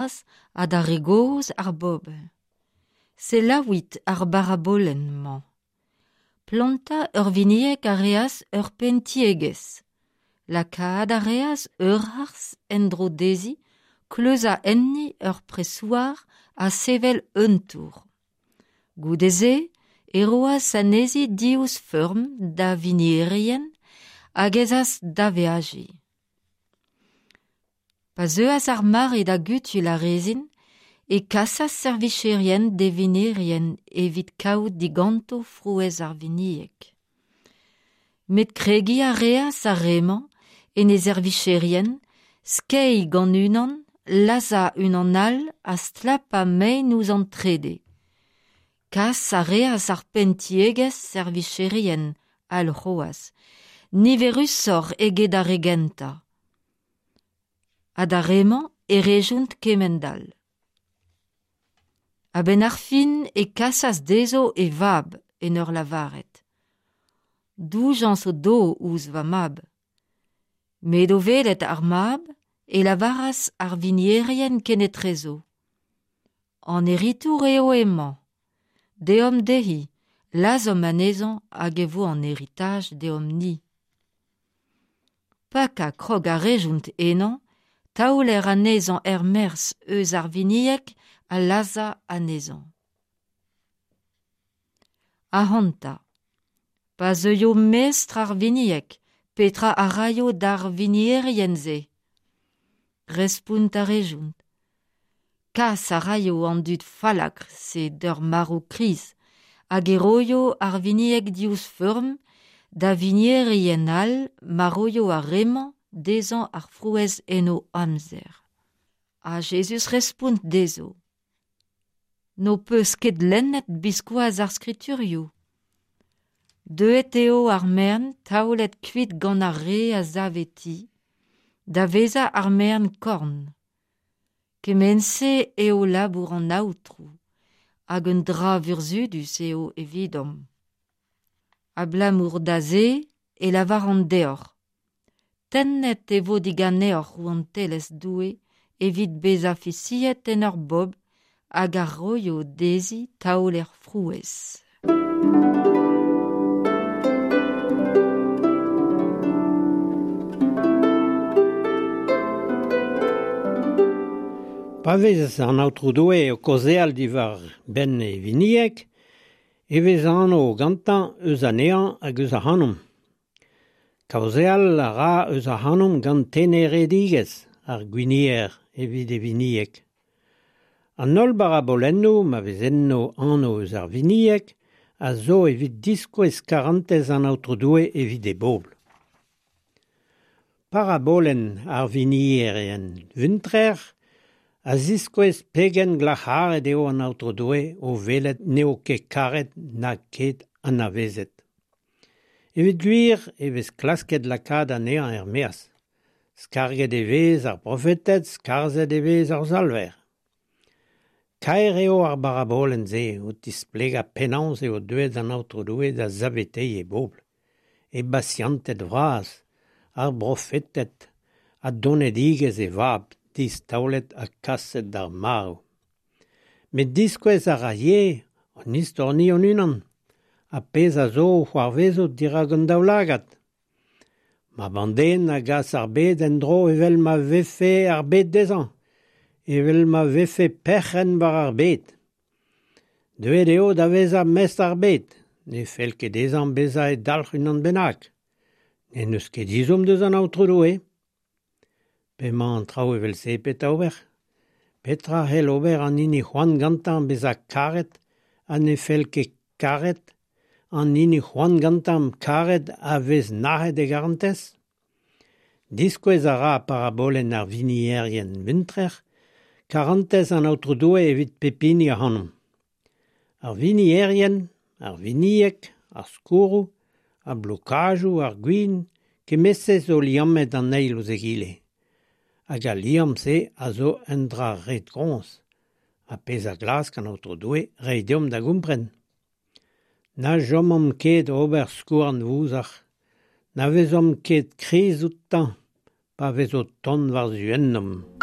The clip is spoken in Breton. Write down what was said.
Ha da re gozh ar bobl. Selaouit ar barabolenn-mañ. Plantañ ur vinieg a reas ur penn-tiegezh. Lakaat a reas ur harz en-dro dezhi, kleuzañ enni ur presouar ha sevel un tour. Goude-se e roas anezhi diouzh feurm da winierien hag ez as da veajiñ. Pa zeuas ar mare da gutuilh ar rezin e kasas servicherien d'e winierien evit kaout diganto frouezh ar winieg. Met kregiñ a reas ar re-mañ en e servicherien, skeiñ gant unan, lazhañ unan all ha stlapañ mein ouzh an trede. Kas a reas ar penn-tiegezh servicherien all c'hoazh, niverusoc'h eget ar re gentañ. Ha d'ar re-mañ e rejont kemend-all. A-benn ar fin e kasas dezho e vab en ur lavaret Doujañs o do ouzh va mab. Met o welet ar mab e lavaras ar winierien kenetrezo An heritour eo hemañ. Deomp dezhi, lazhomp anezhañ hag e vo an heritaj deomp-ni. Pakañ krog a rejont ennañ, taoler anezhañ er-maez eus ar winieg ha lazhañ anezhañ. Ac'hanta, pa zeuio mestr ar winieg, petra a raio d'ar winierien-se ? Respont a rejont. Kas a raio an dud fallakr-se d'ur marv kriz hag e roio ar winieg diouzh feurm da winierien all ma roio ar re-mañ dezhañ ar frouezh en o amzer. Ha Jezuz respont dezho: N'ho peus ket lennet biskoazh ar skriturioù ? Deuet eo ar maen taolet kuit gant ar re a save ti, da vezañ ar maen korn. Kement-se eo labour an Aotrou, hag un dra vurzhudus eo evidomp. Abalamour da se e lavaran deoc'h, tennet e vo diganeoc'h rouantelezh Doue evit bezañ fiziet en ur bobl hag a roio dezhi taoler frouezh. Pa vez an Aotrou Doue o kaozeal diwar-benn e winieg e vez anv gantañ eus anezhañ hag eus ac'hanomp. Kaozeal a ra eus ac'hanomp gant teneredigezh ar gwinier evit e winieg. An holl barabolennoù ma vez enno anv eus ar winieg a zo evit diskouez karantez an Aotrou Doue evit e bobl. Parabolenn ar winierien vuntrer a ziskouez pegen glac'haret eo an Aotrou Doue o welet n'eo ket karet na ket anavezet. Evit gwir e vez klasket lakaat anezhañ er-maez. Skarget e vez ar brofeted, skarzhet e vez ar Salver. Kaer eo ar barabolenn-se o tisplegañ penaos eo deuet an Aotrou Doue da saveteiñ e bobl, e basianted vras, ar brofeted ha donedigezh e vab distaolet ha kaset d'ar marv. Met diskouez a ra ivez hon istor-ni hon-unan, ar pezh a zo o c'hoarvezout dirak hon daoulagad. Mab an den a gas ar bed en-dro evel ma vefe ar bed dezhañ, evel ma vefe perc'henn war ar bed. Deuet eo da vezañ mestr ar bed, ne fell ket dezhañ bezañ e dalc'h unan bennak. N'en deus ket ezhomm deus an Aotrou Doue. P'emañ an traoù evel-se petra ober ? Petra c'hell ober an hini c'hoant gantañ bezañ karet ha ne fell ket karet, an hini c'hoant gantañ karet a vez nac'het e garantez ? Diskouez a ra parabolenn ar winierien vuntrer karantez an Aotrou Doue evit pep hini ac'hanomp. Ar winierien, ar winieg, ar skourroù, ar blokajoù, ar gwin, kement-se zo liammet an eil ouzh egile. Hag al liamm-se a zo un dra ret-groñs, ar pezh a glask an Aotrou Doue reiñ deomp da gompren. Na chomomp ket ober skouarn vouzar, na vezomp ket kriz outañ pa vez o tont war-zu ennomp.